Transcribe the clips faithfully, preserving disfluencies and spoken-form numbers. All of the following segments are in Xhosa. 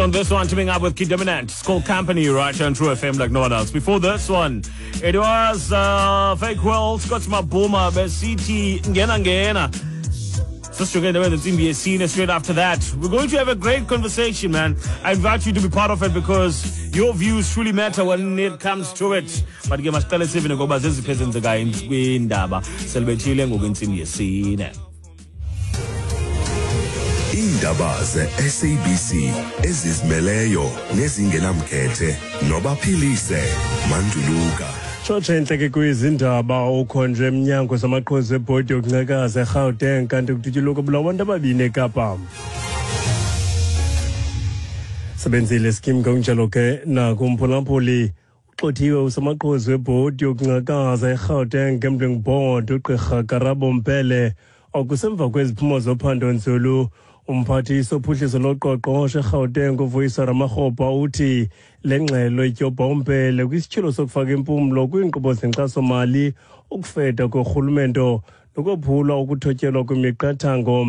on this one, teaming up with Kid Dominant. It's called Company, right here on True F M like no one else. Before this one, it was uh, Fake World, Scott Mabuma, City, Ngena Ngena. Straight after that, we're going to have a great conversation, man. I invite you to be part of it because your views truly matter when it comes to it. But ke masiqale sive ngoba zeziphi ezenzekayo kwindaba selibethile ngoku intsimbi yesine. Iindaba ze-S A B C ezizimeleyo nezingenamkhethe nobaphilise Manduluka. Tshotshe entle ke kwizindaba ukhonjwe emnyango samaqhuzu ebhodi yokuncekaza eGauteng kanti kudutyulwe kubulawa abantu ababini eKapa. Sebenzile skim ngokunjalo ke nakumphulaphuli uxothiwe usamaqhuzu webhodi yokuncakaza eGauteng Gambling Board uGqirha Karabo Mpele okusemva kweziphumo zophando nzulu. Umphathiswa ophuhliso loqoqosho eGauteng uVuyiswa Ramokgopa uthi le ngxelo ityobha uMpele kwisityholo sokufaka impumlo kwiinkqubo zenkxasomali, ukufeda korhulumento nokophulwa ukuthotyelwa kwemiqathango.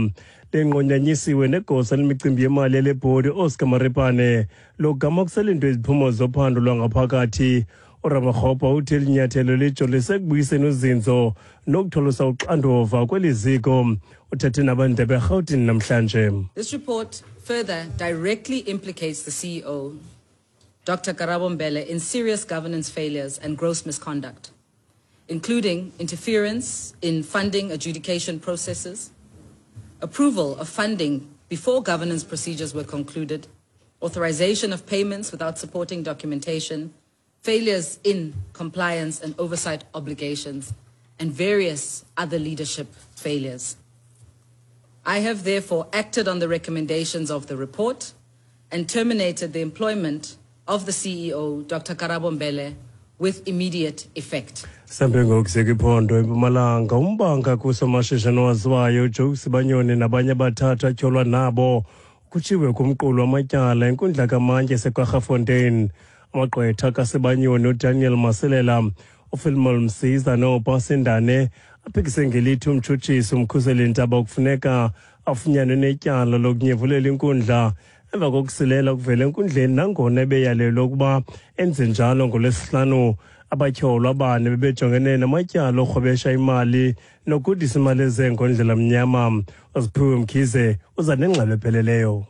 Le nqonyanyisiwe negosa lemicimbi yemali yale bhodi Oscar Maripane logama kuselindwe iziphumo zophando lwangaphakathi. uRamokgopa uthi eli nyathelo lijolise ekubuyiseni uzinzo nokutholosa uxanduva kweli ziko. Uthethe nabandebe eRhawutini namhlanje. This report further directly implicates the C E O, Doctor Karabo Mbele, in serious governance failures and gross misconduct, including interference in funding adjudication processes, approval of funding before governance procedures were concluded, authorization of payments without supporting documentation, failures in compliance and oversight obligations, and various other leadership failures. I have therefore acted on the recommendations of the report and terminated the employment of the C E O, Doctor Karabo Mbele, with immediate effect. Sambe ngokuseka iphondo eMpumalanga umbanga kusomashishini owaziwayo uJoe Sibanyoni nabanye abathathu atyholwa nabo kutshiwe kumqulu wamatyala enkundla kamantyi eseKwaggafontein. Amagqwetha kaSibanyoni uDaniel Masilela, uPhilmon Msiza noPasindane aphikise ngelithi umtshutshisi uMkhuseli Ntaba kufuneka afunyanwe netyala lokunyevulela inkundla emva kokusilela ukuvela enkundleni nangona ebeyalelwe ukuba enze njalo ngoLwesihlanu. Abatyholwa abane bebejongene namatyala orhwebesha imali nokudisa imali ezengondlela mnyama. Uziphiwe Mkhize uza nengxelo epheleleyo.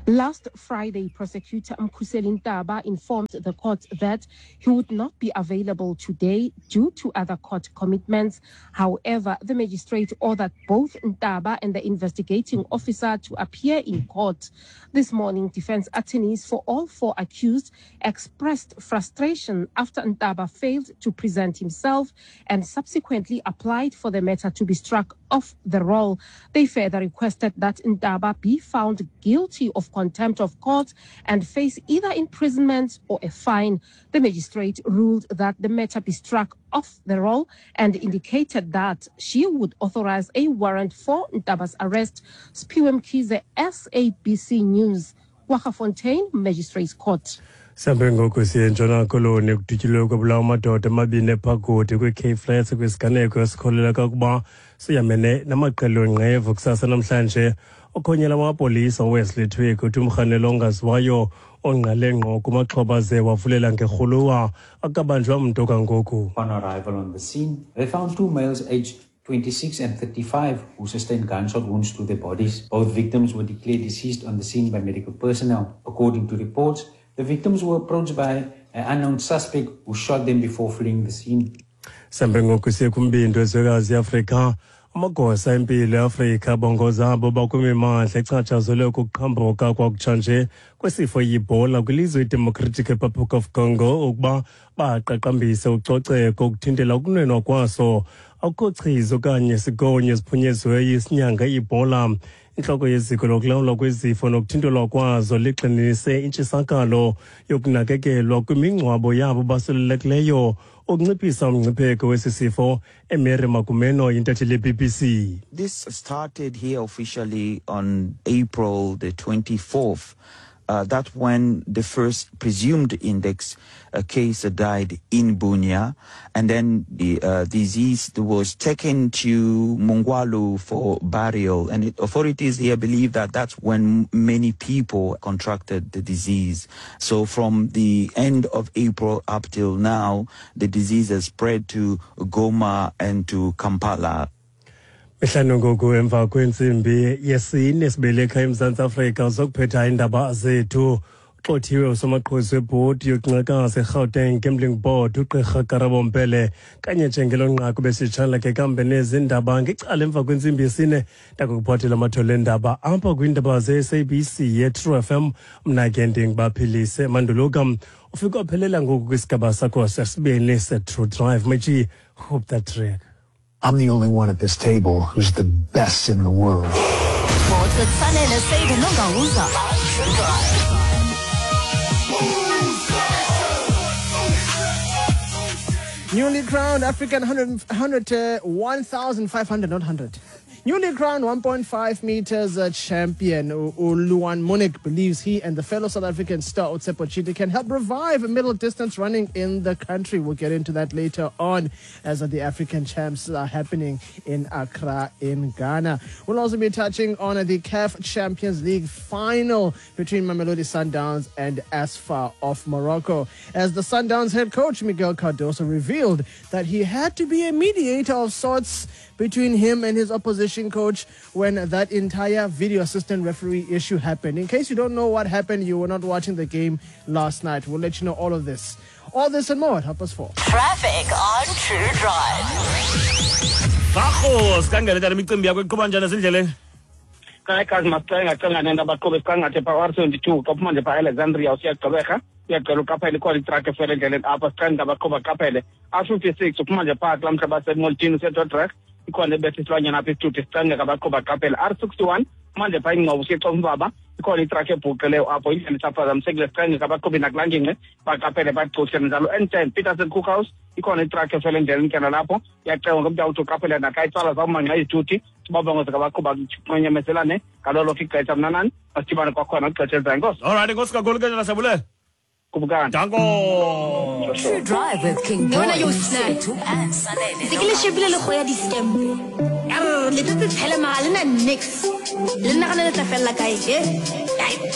Last Friday, Prosecutor Mkhuseli Ntaba informed the court that he would not be available today due to other court commitments. However, the magistrate ordered both Ntaba and the investigating officer to appear in court. This morning, defense attorneys for all four accused expressed frustration after Ntaba failed to present himself and subsequently applied for the matter to be struck off the roll. They further requested that Ntaba be found guilty of contempt of court and face either imprisonment or a fine. The magistrate ruled that the matter be struck off the roll and indicated that she would authorize a warrant for Ntaba's arrest. Siphiwe Mkhize, S A B C News, Kwaggafontein Magistrates Court. Sambe ngoku siye eNtshona Koloni kudutyulwe kwabulawa amadoda amabini ephagodi kwi-Cape Flats kwisiganeko esikholeleka ukuba siyamene namaqela onqevu kusasa namhlanje. Okhonyela amapolisa uWesley Twig uthi umrhanelo ongaziwayo ongqale ngqo kumaxhoba ze wavulela ngerhuluwa akabanjwa mntu kangoku. On arrival on the scene, they found two males aged twenty-six and thirty-five who sustained gunshot wounds to their bodies. Both victims were declared deceased on the scene by medical personnel. According to reports, the victims were approached by an unknown suspect who shot them before fleeing the scene. Sambe ngoku siye kumbindi wezwekazi iAfrika. Amagosa empilo eAfrika abongoza abo bakwimimandla echatshazelwe kukuqhambuka kwakutshanje kwesifo iEbola kwilizwe iDemocratic Republic of Congo ukuba baqaqambise ucoceko ukuthintela ukunwenwa kwaso. Akukho chiza okanye sigonyo esiphunyezweyo isinyanga iEbola. Intloko yeziko lokulawulwa kwezifo nokuthintelwa kwazo ligxininise intshisakalo yokunakekelwa kwimingcwabo yabo basulelekileyo ukunciphisa umngcipheko wesi sifo. Emary Makumeno yintatheli ye-B B C. This started here officially on April the twenty-fourth. Uh, that's when the first presumed index uh, case died in Bunia. And then the uh, disease was taken to Mongwalu for burial. And it, authorities here believe that that's when many people contracted the disease. So from the end of April up till now, the disease has spread to Goma and to Kampala. Mihlanu ngoku emva kwentsimbi yesine sibelekha eMzantsi Afrika zokuphetha iindaba zethu. Uxothiwe usomaqhuzu webhodi yokunxakaza eGauteng Gambling Board uGqirha Karabo Mbele kanye njengelo nqaku besitshala ke kambe nezindaba ngecala emva kwentsimbi yesine ndakukuphathela amathole endaba apha kwiindaba ze-S A B C ye-True F M. Mna ke ndingubaphilise Manduluka. Ufike waphelela ngoku kwisigaba sakho sesibini se-True Drive. Machi, hope that track. I'm the only one at this table who's the best in the world. Sports with Sanele Seide Nongauza. Newly crowned African one hundred, uh, one thousand five hundred, not one hundred. Newly crowned one point five meters uh, champion Uluan Munich believes he and the fellow South African star Otsepo Chidi can help revive middle distance running in the country. We'll get into that later on as the African champs are happening in Accra in Ghana. We'll also be touching on the C A F Champions League final between Mamelodi Sundowns and Asfar of Morocco, as the Sundowns head coach Miguel Cardoso revealed that he had to be a mediator of sorts between him and his opposition coach when that entire video assistant referee issue happened. In case you don't know what happened, you were not watching the game last night. We'll let you know all of this. All this and more at half past four. Traffic on True Drive. Bakho, sikangele tata imicimbi yakho iqhuba njani ezindleleni? Kazi masicenga cenga nento abaqhubi sikangathi pha R seventy-two xa uphuma nje pha Alexandria usiyagqibeka uyagcela uqaphele ikhona itruck efele endleleni apha sicenga abaqhubi baqaphele. R fifty-six uphuma nje pha kulaa mhla basemoltini useDordrecht ikhona ebetha isilwanyana apha isithuthi sicengeka abaqhubi baqaphele. R sixty-one manje pha ingcobo usiyexomvaba ikhona itruck ebhuqileyo apho indlela isaphazamisekile sicengeka abaqhubi nakulaa ngingqi baqaphele bacuhle njalo. N ten Peterson Cookhouse ikhona itruck efele endleleni ke nalapho iyacengwa ngomntu awuthi uqaphele naxa itsala zawumanxa izithuthi sibabongoze ngabaqhuba kunyamezelane ngalo lonke ixesha. Mna nani masidibane kwakhona kwixesha elizayo. Enkosi. All right, enkosi kakhulu ke njena siyabulela. Kubukana. Danko. True Drive with King Boy. Yona yo snack. And Sanele. Se ke le shebile le go ya di-scam. Arr, le tletse tshele mahala le na nix. Le nagana le tla fella kae, eh?